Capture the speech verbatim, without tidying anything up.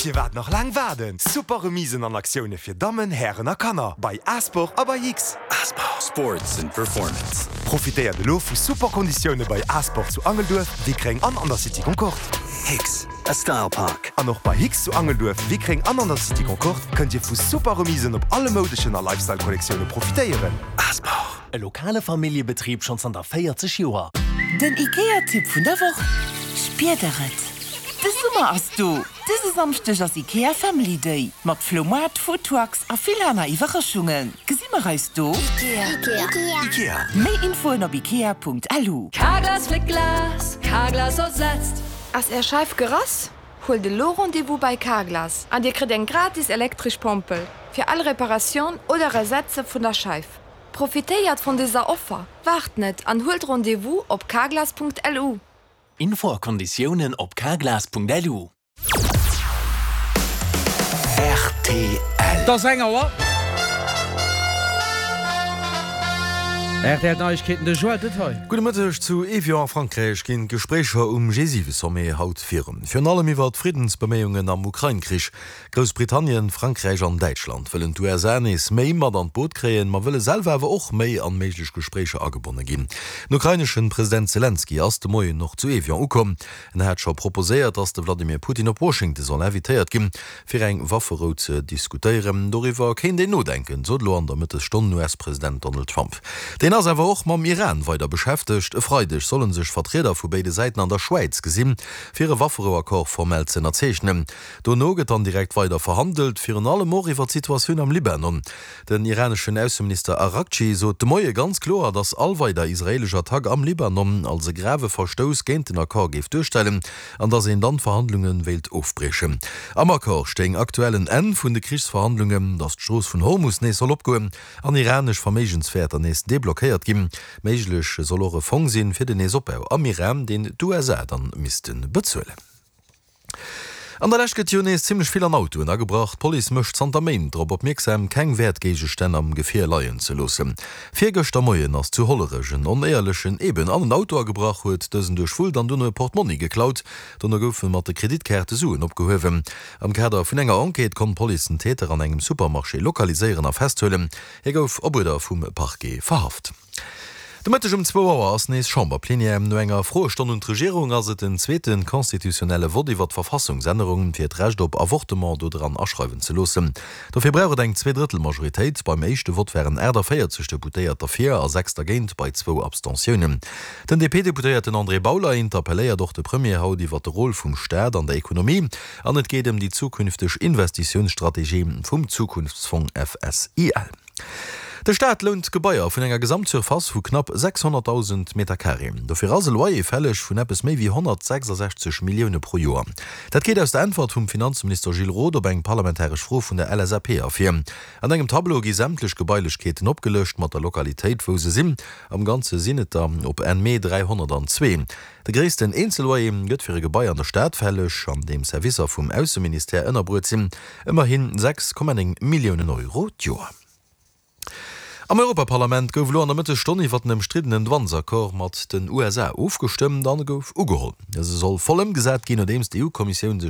Firwat nach laang waarden? Super Remisen an Aktioune fir Dammen, Hären a Kanner bei Asport a bei Hicks. Asport. Sports and Performance. Profitéiert elo vu super Konditioune bei Asport zu Angelduerf, Wickreng an an der City Concorde. Hicks, a Style Park. An och bei Hicks zu Angelduerf, Wickreng an an der City Concorde kënnt Dir vu super Remisen op alle moudeschen a Lifestyle-Kollektioune profitéieren. Asport. E lokale Familljebetrib schonn zanter véierzeg Joer. Den IKEA-Tipp vun der Woch, Spiert der et? De Summer ass do! Dëse Samschdeg ass IKEA Family Day mat Flohmaart, Foodtrucks a vill aner Iwwerraschungen. Gesi mer eis do? Ikea. Ikea. Ikea. Méi Infoen op ikea.lu. Carglass fléckt Glas, Carglass ersetzt. Ass Är Scheif gerass? Huelt elo Rendez-vous bei Carglass an Dir kritt eng gratis elektresch Pompel fir all Reparatioun oder Ersetze vun der Scheif. Profitéiert vun dëser Offer, waart net an huelt Rendez-vous op carglass.lu. Info a Konditiounen op carglass.lu. Rtl. Et ass eng Auer. Rtl Neiegkeeten, de Joël Detail. Gudde Mëtteg. Zu Evian a Frankräich ginn d'Gespréicher um G siwe Sommet haut virun. Virun allem iwwer d'Friddensbeméiungen am Ukrain-Krich. Groussbritannien, Frankräich an Däitschland wëllen d'U S A nees méi mat an d'Boot kréien, ma wëlle selwer awer och méi an méiglech Gespréicher agebonne ginn. Den ukraineschen President Selenskyj ass de Moien och zu Evian ukomm. En hat scho proposéiert, datt de Vladimir Putin op Washington soll invitéiert ginn, fir eng Wafferou ze diskutéieren. Doriwwer kéint een nodenken, sot elo an der Mëttesstonn den U S-President Donald Trump. Deen ass awer och mam Iran weider beschäftegt. E Freideg solle sech Vertrieder vu béide Säiten an der Schwäiz gesinn, fir e Wafferouaccord formell ze ënnerzeechnen. Dono gëtt dann direkt weider verhandelt, virun allem och iwwer d'Situatioun am Libanon. Den iraneschen Ausseminister Araghchi sot de Moie ganz kloer, datt all weider israeelesch Attack am Libanon als e grave Verstouss géint den Accord géif duerstellen an datt een dann d'Verhandlunge wéilt ofbriechen. Am Accord stéing aktuell en Enn vun de Krichsverhandlungen, datt d'Strooss vun Hormus nees soll opgoen an iranesch Verméigenswäerter nees deblockéiert ginn. Méiglech soll och e Fong sinn fir den Neesopbau am Iran, deen d'U S A dann misste bezuelen. An der Lescht gëtt jo nees zimmlech vill an Autoen agebrach. D'Police mécht zanter Méint drop opmierksam, keng Wäertgéigestänn am Gefier leien ze loossen. Virgëschter Moien ass zu Hollerech en Onéierlechen eben an en Auto agebrach, huet dësen duerchwullt an dono e Portmonni geklaut. Dono goufe mat de Kreditkaarte Suen opgehuewen. Am Kader vun enger Enquête konnt d'Police den Täter an engem Supermarché lokaliséieren a festhuelen. Hie gouf op Uerder vum Parquet verhaft. De Mëtteg um zwou Auer ass nees Chamberplenière. No enger Froestonn un d'Regierung ass et den zweete constitutionnelle Vott iwwer d'Verfassungsännerung, fir d'Recht op Avortement do dran aschreiwen ze loossen. Dofir brauch et eng Zweedrëttelmajoritéit. Beim éischte Vott waren aachtavéierzeg Deputéiert derfir a sechs dergéint bei zwou Abstentiounen. Den D P-Deputéierten André Bauler interpelléiert och de Premier haut iwwer de Rôle vum Staat an der Ekonomie an et geet ëm déi zukünfteg Investitiounsstrategie vum Zukunftsfong F S I L. De Staat lount Gebaier vun enger Gesamtsurface vu knapp sechshonnertdausend Meter Carré. Dofir ass e Loyer fälleg vun eppes méi wéi honnertsechsasechzeg Millioune pro Joer. Dat geet aus der Äntwert vum Finanzminister Gilles Roth op eng parlamentaresch Fro vun der L S A P ervir. An engem Tableau gi sämtlech Gebailechkeeten opgelëscht mat der Lokalitéit, wou se sinn. Am Ganze sinn et der op Enn Mee dräihonnertandzwee. De gréissten Eenzelloyer gëtt fir e Gebai an der Stad fälleg, an deem Servicer vum Ausseministère ënnerbruet sinn, ëmmerhin sechs Komma néng Milliounen Euro d'Joer. Am Europaparlament gouf elo an der Mëttesstonn iwwer den ëmstriddenen Douanesaccord mat den U S A ofgestëmmt an gouf ugeholl. Dëse soll voll ëmgesat ginn, nodeems d'E U-Kommissioun sech